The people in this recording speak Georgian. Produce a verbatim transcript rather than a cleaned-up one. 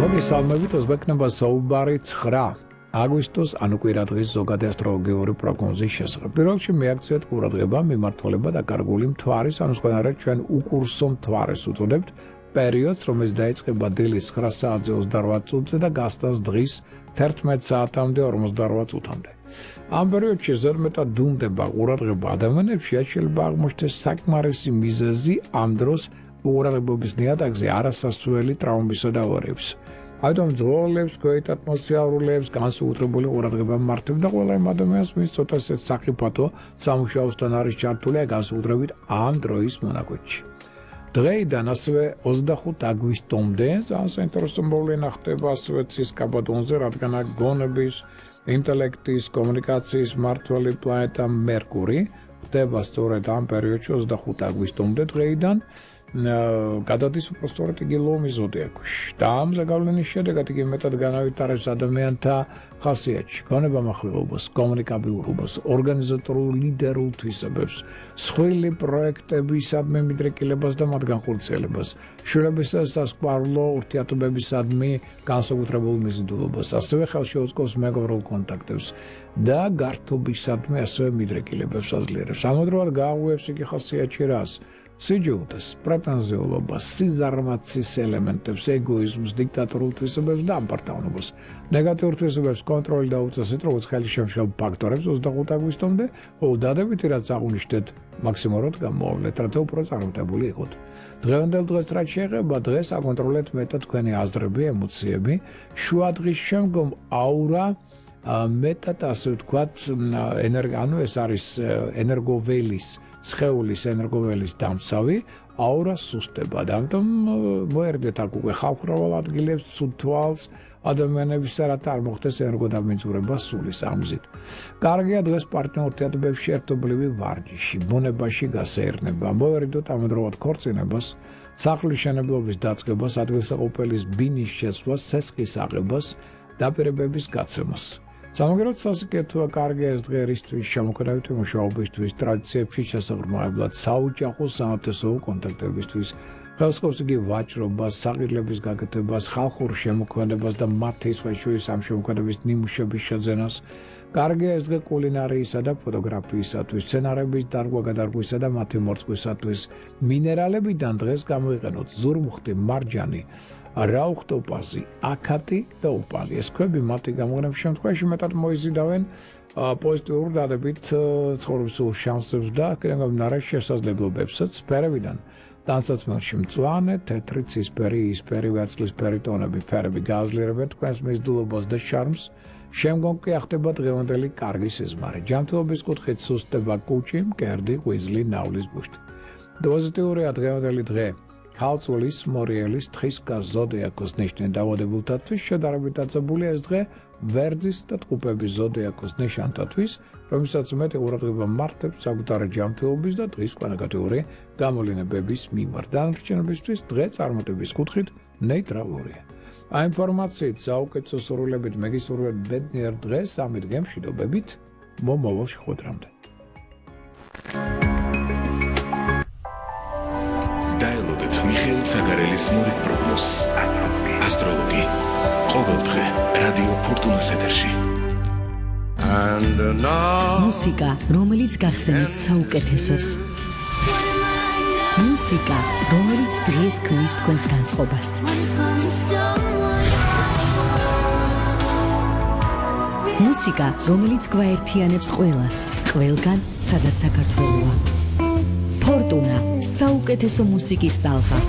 მოგესალმებით, ოზბეკნება საუბარი ცხრა აგვისტოს ანუ კვირადღის ზოგადი ასტროლოგიური პროგნოზის შესახებ. პირველ რიგში მიაქციეთ ყურადღება მიმართულება და გარკვეული მთვარის, ანუ სხვანაირად ჩვენ უკურსო მთვარეს უწოდებთ პერიოდს, რომელიც დაიწყება დილის ცხრა საათზე ოცდარვათ წუთზე და გასტანს დღის თერთმეტ საათამდე ორმოცდარვათ წუთამდე. ამ პერიოდში ზედმეტად დუმდება ყურადღება ადამიანებში, შეიძლება აღმოჩნდეს საკმარისი მიზეზი ამ დროს ყურადღების ნიადაგზე არასასწრელი ტრავმებისა და ავარიების. Այդում ძროლებს, ქვეით ატმოსფერულებს, განსაკუთრებული ყურადღება მართებდა ყველა იმ ადამიანს, ვინც ცოტა საკიფათო სამუშაოსთან არის ჩართული, განსაკუთრებით ამ დროის მონაკვეთში. დღეიდან ასევე ოცდახუთ აგვისტომდე, ძალიან საინტერესო მოვლენა ხდება ასევე ცის კაბადონზე, რადგან გონების, ინტელექტის, კომუნიკაციის მმართველი პლანეტა მერკური ხდება სწორედ ამ პერიოდში ოცდახუთ აგვისტომდე დღეიდან. გადადის უпростоრად იგი ლომის ზოდიაქოში და ამ ზეგავლენის შედეგად იგი მეტად განავითარებს ადამიანთა ხასიათში, გონებამახვილობას, კომუნიკაბილურობას, ორგანიზატორულ ლიდერულ თვისებებს, სხვილი პროექტებისადმი მიდრეკილებას და მათ განხორციელებას, შვილებისა და სასიყვარულო ურთიერთობებისადმი განსაკუთრებულ მიზიდულობას, ასევე ხელშეუწყობს მეგობრულ კონტაქტებს და გართობისადმი ასევე მიდრეკილებებს აძლიერებს. ამავდროულად გააღვევს იგი ხასიათში რას? სიჯულდეს, პრეტენზიულობას, სიზარმაცის ელემენტებს, ეგოიზმს, დიქტატორულ თვისებებს და ამპარტავნობას. ნეგატიურ თვისებებს კონტროლი და უწესით, როგორც ხელშემშლელ ფაქტორებს ოცდახუთ აგვისტომდე, ხოლო დადებითი რაც აღვნიშნეთ, მაქსიმალურად გამოავლეთ, რათა უფრო წარმატებული იყოთ. დღევანდელ დღეს რაც შეეხება, დღეს აკონტროლეთ მეტად თქვენი აზრები, ემოციები, შუადღის შემდგომ აურა მეტად ასე ვთქვათ, ანუ ეს არის ენერგოველის სხეულის ენერგოველის დამცავი აურა სუსტება და ამიტომ მოერდეთ აქ უკვე ხალხმრავალ ადგილებს ცუდ თვალს ადამიანების რათა არ მოხდეს ენერგოდამიმძვრება სულის ამზით. კარგია დღეს პარტნიორ ურთიერთობებში ერთობლივი ვარჯიში, ბუნებაში გასეირნება, მოერდოთ ამავდროულად ქორწინებას, სახლის მშენებლობის დაწყებას, ადგილსაყოფელის ბინის შეცვლას, სესხის აღებას, დაპირებების გაცემას. სამაგეროთ სასიკეთოა კარგია ეს დღე ერისთვის, შემოქმედებითი მუშაობისთვის, ტრადიციებში შესაღრმავებლად, საოჯახო საათესო კონტაქტებისთვის, ხელსხობს იგი ვაჭრობას, საყიდლების გაკეთებას, ხალხურ შემოქმედებას და მათი სხვა შორის ამ შემოქმედების ნიმუშების შეძენას. კარგია ეს დღე კულინარიისა და ფოტოგრაფიისათვის, სცენარების დარგვა-გადარგვისა და მათი მორწყვისათვის, მინერალებიდან დღეს გამოიყენოთ ზურმუხტი, მარჯანი, რაუხტოპაზი, აკატი და ოპალი. ეს ქვები მათი გამოყენების შემთხვევაში მეტად მოიზიდავენ პოზიტიურ დადებით ცხოვრებისულ შანსებს და გამომდინარე შესაძლებლობებსაც სფერებიდან. ტანსაცმელში მწვანე, თეთრი, ცისფერი, იისფერი, ვერცხლისფერი ტონები ფერები გააძლიერებენ თქვენს მიზიდულობას და შარმს. შემდგომ კი ახდება დღევანდელი კარგი სიზმარი. ჯანმრთელობის კუთხით სუსტდება კუჭი, მკერდი, ღვიძლი, ნავლის ბუშტი. პოზიტიურია დღევანდელი დღე. ქალწულის, მორიელის, თხისკას, ზოდიაქოს ნიშნის დაავადებულთათვის შედარებით დაწებულია ეს დღე ვერძის და ტყუპების ზოდიაქოს ნიშანთათვის, რომელსაც მეტი ყურადღება მართებს საკუთარი ჯანმრთელობის და დღის კვალიფიკაციური გამოვლენების მიმართ. დანარჩენებისთვის დღე წარმატების კუთხით ნეიტრალურია. ამ ინფორმაციით საუკეთესო სურვილებით მეგისურვებ ბედნიერ დღეს, ამით გემშვიდობებით, მომავალ შეხვედრამდე. დაელოდეთ მიხეილ ცაგარელის მორიგ პროგნოზს. ასტროლოგი. ყოველდღე რადიო ფორტუნას ეთერში. მუსიკა, რომელიც გახსენებთ საუკეთესოს. მუსიკა, რომელიც დღეს ქმნის თქვენს განწყობას. მუსიკა, რომელიც გვაერთიანებს ყველას, ყველგან, სადაც საქართველოა. ფორტუნა, საუკეთესო მუსიკის ტალღა.